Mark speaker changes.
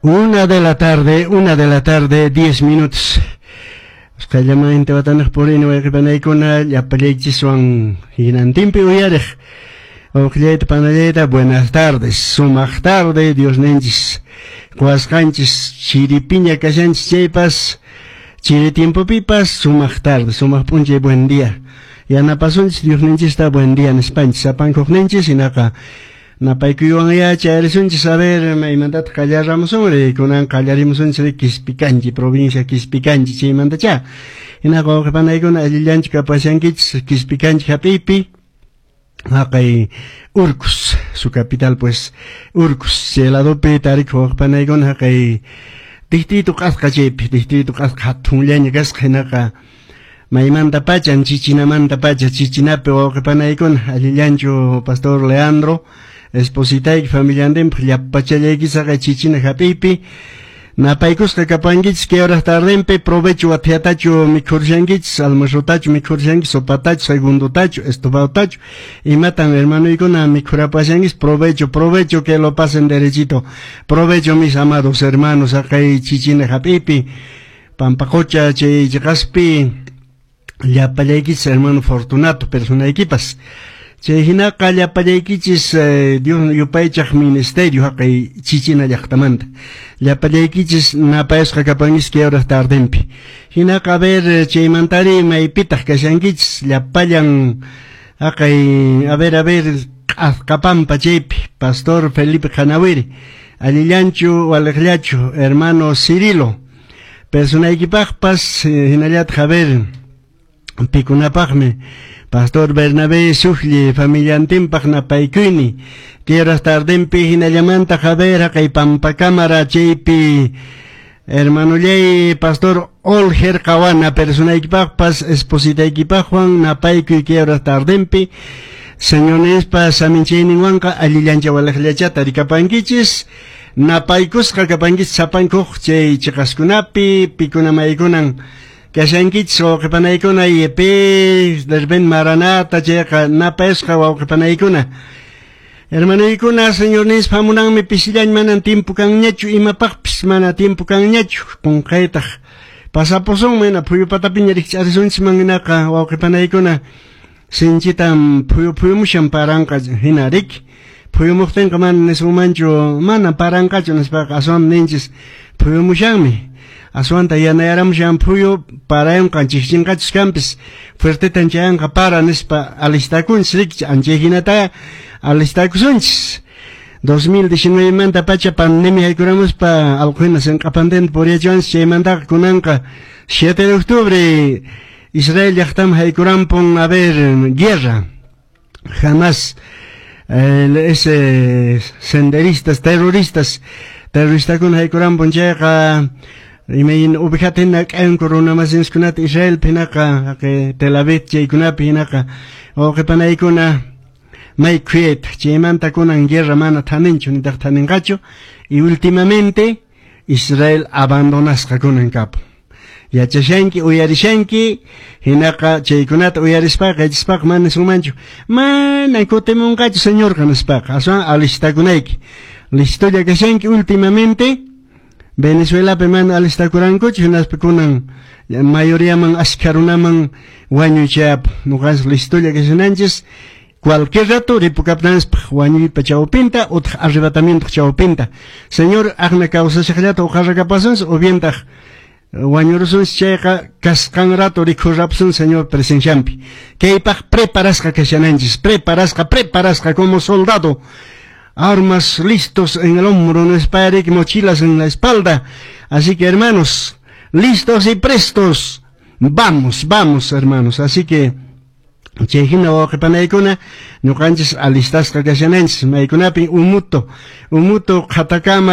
Speaker 1: 1 de la tarde, 1 de la tarde, 10 minutos. Usqhayllamanta watanaq purini, wayqipanaykuna, llapallaychiswan hinantinpi uyariq wawqillayta, panallayta, buenas tardes, sumaq tarde, Diosninchis quwasqanchis chiripiña kashanchis chaypas, chiri tiempopipas sumaq tarde, sumaq p'unchay, buen día. Yanapasunchis Diosninchista buen día nispanchis, sapankuqninchis hinaqa napaykuywan chayarisunchis. A ver, maymantataq qallaramusunri? Kunan qallarimusunchis Quispicanchi, provincia Quispicanchi, chaymantacha. Hinaqa wawqipanaykuna, allillanchu kapashankichis Quispicanchi hap'iypi, haqay Urcos, su capital pues Urcos, chay ladopi tarikuq wawqipanaykuna, haqay distrito Q'asqa, chaypi distrito Q'asqa hatunllaña kasqa. Hinaqa maymanta pachan, Chichinamanta pacha, Chichinapi wawqipanaykuna, allillanchu pastor Leandro, espositayki, familiantinpaq, llapachallaykichis haqay Chichina hap'iypi napaykusqa kapankichis kay horas tardenpi. Provecho, wathiatachu mikhurushankichis, almuerzotachu mikhurushankichis, sopatachu, segundotachu, estofadotachu, imatan hermanoykuna mikhurapashankichis. Provecho, provecho, que lo pasen derechito. Provecho, mis amados hermanos, haqay Chichina hap'iypi, Pampacocha chay chiqaspi llapallaykichis, hermano Fortunato, personaykipas. Chay hinaqa llapallaykichis Dios yupaychaq ministerio haqay Chichina llaqtamanta llapallaykichis napayasqa kapankichis kay horas tardenpi. Hinaqa, a ver, chaymantari maypitaq kashankichis llapallan haqay, a ver, a ver, Q'asqapampa chaypi pastor Felipe Qanawiri, allillanchu waliqllachu, hermano Cirilo, personaykipaqpas, hinallataq, a ver, pikunapaqmi, pastor Bernabé Sujli familiantinpaq napaykuyni tierras tardenpi. Hinallamanta, a ver, haqay Pampacámara chaypi hermanollay pastor Olger Qawana, personaykipaqpas, espositaykipaqwan napaykuy kay horas tardenpi. Señornispa saminchayninwanqa allillancha waliqllachata tarikapankichis. Napaykusqa kapankichis sapankuq chay chiqaskunapi pikuna maykunan kashankichis, wawqipanaykuna, IEP de Maranata chayqa napayasqa wawqipanaykuna, hermanoykuna. Señornispa hamunanmi pisillañ, manan tiempo kanñachu, imapaqpis mana tiempo kanñachu, qunqaytaq pasapusun, mana phuyu patapiña rikch'arisunchis hinaqa, wawqipanaykuna, sinchitan phuyu phuyumushan, paranqa hina riki. Phuyumuqtinqa mana nisunmanchu mana paranqachu nispaqa, aswan ninchis phuyumushanmi, aswanta yanayaramushan phuyu, parayunqa, chikchinqachus kanpis, fuertetan chayanqa para nispa alistakunchis riki. Anchay hinata alistakusunchis. 2019 manta pacha pandemia haykuramuspa allqu hina sinq'apantenta puriyachiwanchis. Chaymantaqa kunanqa 7 de octubre Israel llaqtaman haykurampun, a ver, guerra Hamas, ese senderistas terroristas, terroristakuna haykurampun. Chayqa imayn ovejata hina k'ayanku runamasinchikkunata Israelpi, hinaqa haqay Tel Aviv chaykunapi. Hinaqa wawqipanaykuna, may khuyayta chaymanta kunan guerra mana thaninchu nitaq thaninqachu y últimamente Israel abandonasqa kunan kapun. Yachashanki, uyarishanki. Hinaqa chaykunata uyarispaqa, yachaspaqa mana nisunmanchu mana kutimunqachu Señorqa nispaqa, aswan alistakunayki, listolla kashanki. Últimamente Venezuelapi mana alistakurankuchu, hinaspa kunan mayoriaman, ashkha runaman wañuy chayapun. Ñuqanchis listolla kashananchis, cualquier rato ripukaptinanchis wañuypa chawpinta utaq arrebatamiento chawpinta. Señor aqna kawsashaqllata uqarrakapasunchis o bientaq wañurusunchis, chayqa kasqan rato rikhurrapusun Señor presenciampi. Kaypaq preparasqa kashananchis, preparasqa, preparasqa como soldado, armas listos en el hombro, no mochilas en la espalda. Así que, hermanos, listos y prestos, vamos, vamos, hermanos. Así que chay hina, wawqipanaykuna, ñuqanchis alistasqa kashananchis. Maykunapin umuto, umuto qhatakama.